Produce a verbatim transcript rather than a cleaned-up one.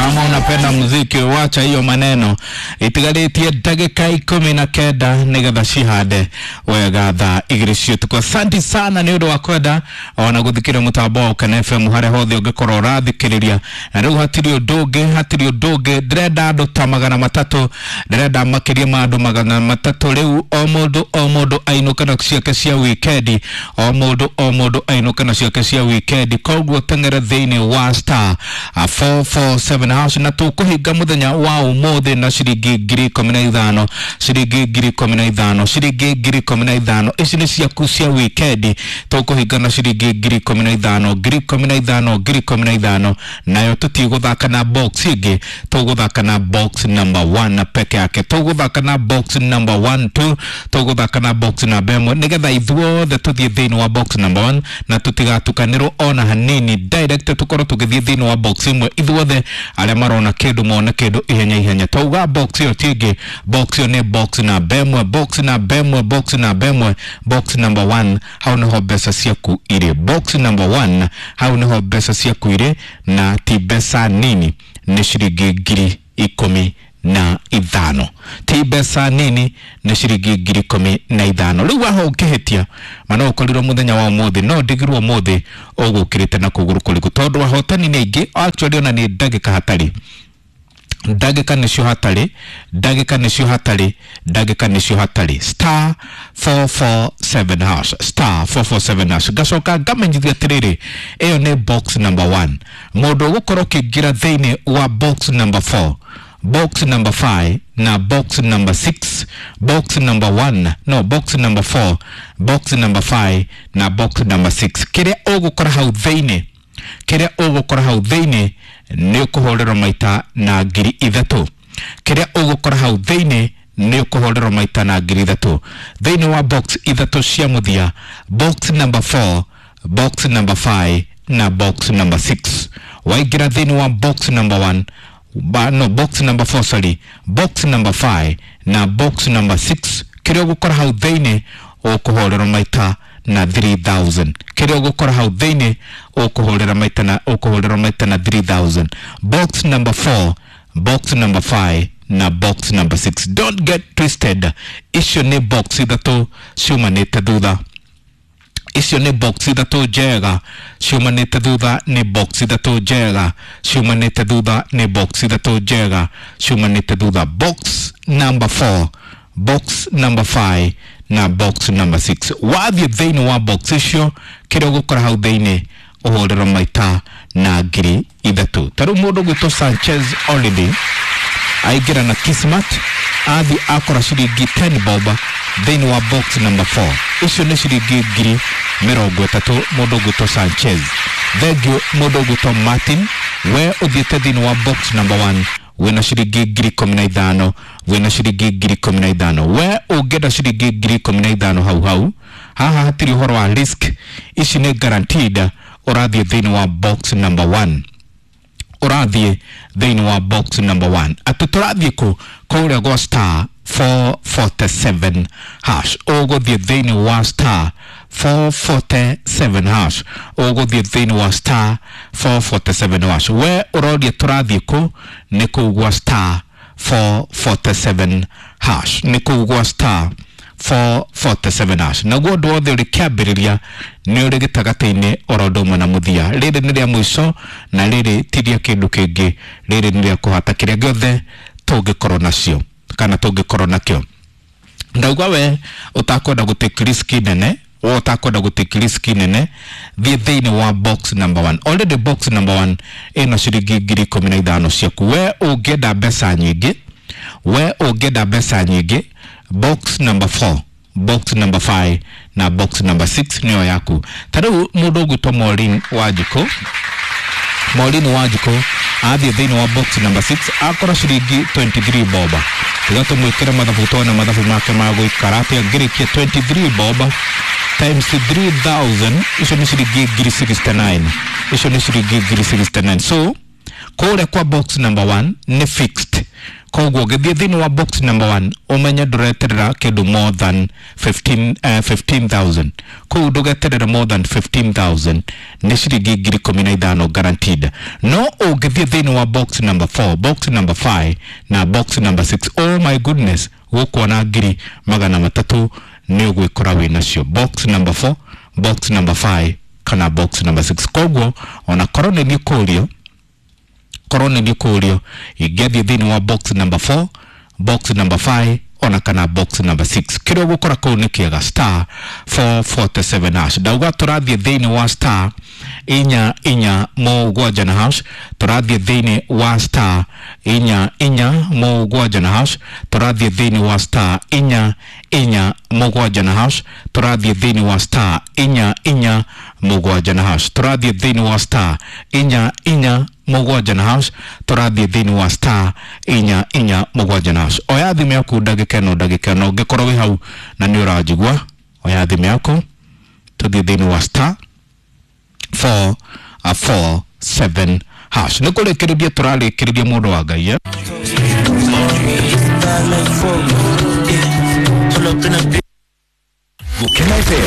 Kama unapenda muziki wacha hiyo maneno. Itigarĩtie ndagĩka ikũmi na kenda nĩgetha cihande wega thaa igĩrĩ cia ũtukũ. Asante sana nĩ ũndũ wa kwenda ona gũthikĩrĩria mũtambo wa Ũkena F M harĩa hothe ũngĩkorwo ũrathikĩrĩria. Na rĩu hatirĩ ũndũ ũngĩ, hatirĩ ũndũ ũngĩ, ndĩrenda andũ ta magana matatũ, ndĩrenda makĩria ma andũ magana matatũ. Rĩu o mũndũ o mũndũ ainũke na ciake cia wikendi, o mũndũ o mũndũ ainũke na ciake cia wikendi. Koguo teng'ere thĩinĩ wa star four four seven hash, na tũkũhinga mũthenya wa ũmũthĩ na ciringi ngiri ikũmi na ithano, ciringi ngiri ikũmi na ithano, ciringi ngiri ikũmi na ithano. Ici nĩ ciaku cia wikendi, tũkũhinga na ciringi ngiri ikũmi na ithano, ngiri ikũmi na ithano, ngiri ikũmi na ithano. Nayo tũtigũthaka na box ĩngĩ, tũgũthaka na box number one peke yake, tũgũthaka na box number one two, tũgũthaka na box namba ĩmwe, nĩgetha ithuothe tũthiĩ thĩinĩ wa box number one na tũtigatukanĩrwo ona hanini. Direct tũkorwo tũgĩthiĩ thĩinĩ wa box ĩmwe, ithuothe arĩa marona kĩndũ mone kĩndũ ihenya ihenya. Twauga box ĩyo ti ĩngĩ, box ĩyo nĩ box namba ĩmwe, box namba ĩmwe, box namba ĩmwe, box number one. Hau nĩho mbeca ciaku irĩ, box number one, hau nĩho mbeca ciaku irĩ, na ti mbeca nini, nĩ ciringi ngiri ikũmi na ithano, ti mbeca nini, nĩ ciringi ngiri ikũmi na ithano. Rĩu waho ũngĩhĩtia mana ũkorirwo mũthenya wa ũmũthĩ, no ndigirwo ũmũthĩ ũgũkĩrĩte na kũgũrũ kũriku, tondũ ahotani nĩ aingĩ. Actually ona nĩ ndagĩka hatarĩ, ndagĩka nĩcio hatarĩ, ndagĩka nĩcio hatarĩ, ndagĩka nĩcio hatarĩ. Star four four seven hash, star four four seven hash. Ngacoka ngamenyithia atĩrĩrĩ, ĩyo nĩ box number one. Mũndũ ũgũkorwo ũkĩingĩra thĩinĩ wa box number four, box number five na box number six, box number one, no, box number four, box number five na box number six, kĩrĩa ũgũkora hau thĩinĩ, kĩrĩa ũgũkora hau thĩinĩ nĩ ũkũhũrĩrwo maita na ngiri ithatũ. Kĩrĩa ũgũkora hau thĩinĩ nĩ ũkũhũrĩrwo maita na ngiri ithatũ. Thĩinĩ wa box ithatũ cia mũthia, box number four, box number five na box number six. Waingĩra thĩinĩ wa box number one, ba, no, box number four, sorry, box number five na box number six, kĩrĩa ũgũkora hau thĩinĩ ũkũhũrĩrwo maita na three thousand. Kĩrĩa ũgũkora hau thĩinĩ ũkũhũrĩra maita na, ũkũhũrĩra maita na three thousand. Box number four, box number five na box number six. Don't get twisted. Icio nĩ box ithatũ ciumanĩte thutha. Icio nĩ box ithatũ njega ciumanĩte thutha, nĩ box ithatũ njega ciumanĩte thutha, nĩ box ithatũ njega ciumanĩte thutha. Box number four, box number five na box number six. Wathiĩ thĩinĩ wa box icio, kĩrĩa ũgũkora hau thĩinĩ ũhũrĩrwo maita na ngiri ithatũ. Ta rĩu mũndũ ũgwĩtwo Sanchez Olidi aingĩra na Kismat, athiĩ akora ciringi ten bob thĩinĩ wa box number four. Icio nĩ ciringi ngiri mĩrongo ĩtatũ mũndũ ũgwĩtwo Sanchez. Thengiũ mũndũ ũgwĩtwo Martin, we ũthiĩte thĩinĩ wa box number one wĩna ciringi ngiri ikũmi na ithano, wĩna ciringi ngiri ikũmi na ithano. We ũngĩenda ciringi ngiri ikũmi na ithano hau hau, haha hatirĩ ũhoro wa risk, ici nĩ guaranteed. Ũrathiĩ thĩinĩ wa box number one, ũrathiĩ thĩinĩ wa box number one. Atĩ tũrathiĩ kũ? Kũrĩa gwa star four forty-seven hash. Ũgũthiĩ thĩinĩ wa star four forty-seven hash. Ũgũthiĩ thĩinĩ wa star four forty-seven hash. We ũroria tũrathiĩ kũ? Nĩ kũu gwa star four forty-seven hash. Nĩ kũu gwa star four forty-seven hash. Naguo ũndũ wothe ũrĩ kĩambĩrĩria nĩ ũrĩ gĩtagatĩ-inĩ oro ũndũ ũmwe na mũthia. Rĩrĩ nĩ rĩa mũico na rĩrĩ ti rĩa kĩndũ kĩngĩ, rĩrĩ nĩ rĩa kũhata kĩrĩa gĩothe tũngĩkorwo nacio kana tũngĩkorwo nakĩo. Ndauga we ũtakwenda gũtake risk nene, we ũtakwenda gũtake risk nene, thiĩ thĩinĩ wa box number one. Already box number one ĩna ciringi ngiri ikũmi na ithano ciaku. We ũngĩenda mbeca nyingĩ, we ũngĩenda mbeca nyingĩ, box number four, box number five na box number six nĩyo yaku. Ta rĩu mũndũ ũgwĩtwo Maureen Wanjikũ, Maureen Wanjikũ athiĩ thĩinĩ wa box number six akora ciringi twenty-three bob. Tiga tũmwĩkĩre mathabu tuone mathabu make ma gũikara atĩa. Ngĩrĩkia twenty-three bob times three thousand, icio nĩ ciringi ngiri sixty-nine, icio nĩ ciringi ngiri sixty-nine. So kũrĩa kwa box number one nĩ fixed, Koguo ũngĩthiĩ thĩinĩ wa box number one, ũmenye ndũreterera kĩndũ more than fifteen, uh, fifteen thousand. Kũu ndũgeterere more than fifteen thousand, nĩ ciringi ngiri ikũmi na ithano guaranteed. No ũngĩthiĩ thĩinĩ wa box number four, box number five na box number six, oh my goodness, gũkuona ngiri magana matatũ nĩ ũgwĩkora wĩ nacio. Box number four, box number five kana box number six. Koguo ona korwo nĩ niĩ kũrio, korwo nĩ niĩ kũrio, ingĩathiĩ thĩinĩ wa box number four, box number five ona kana box number six. Kĩrĩa ũgũkora kũu nĩ kĩega. Star four forty-seven hash. Ndauga tũrathiĩ thĩinĩ wa star inya inya mũgwanja na hash. Tũrathiĩ thĩinĩ wa star inya inya mũgwanja na hash. Tũrathiĩ thĩinĩ wa star inya inya mũgwanja na hash. Tũrathiĩ thĩinĩ wa star inya inya mũgwanja na hash. Tũrathiĩ thĩinĩ wa star inya inya mũgwanja na hash. Tũrathiĩ thĩinĩ wa star inya inya mũgwanja na hash. Oya thimũ yaku ndagĩka ĩno, ndagĩka ĩno, ũngĩkorwo wĩ hau na nĩ ũranjigua, oya thimũ yaku, tũthiĩ thĩinĩ wa star four four seven hash. Nĩ kũrĩkĩrĩria tũrarĩkĩrĩria, mũndũ wa Ngai, eh? Pull up in a Gukena F M.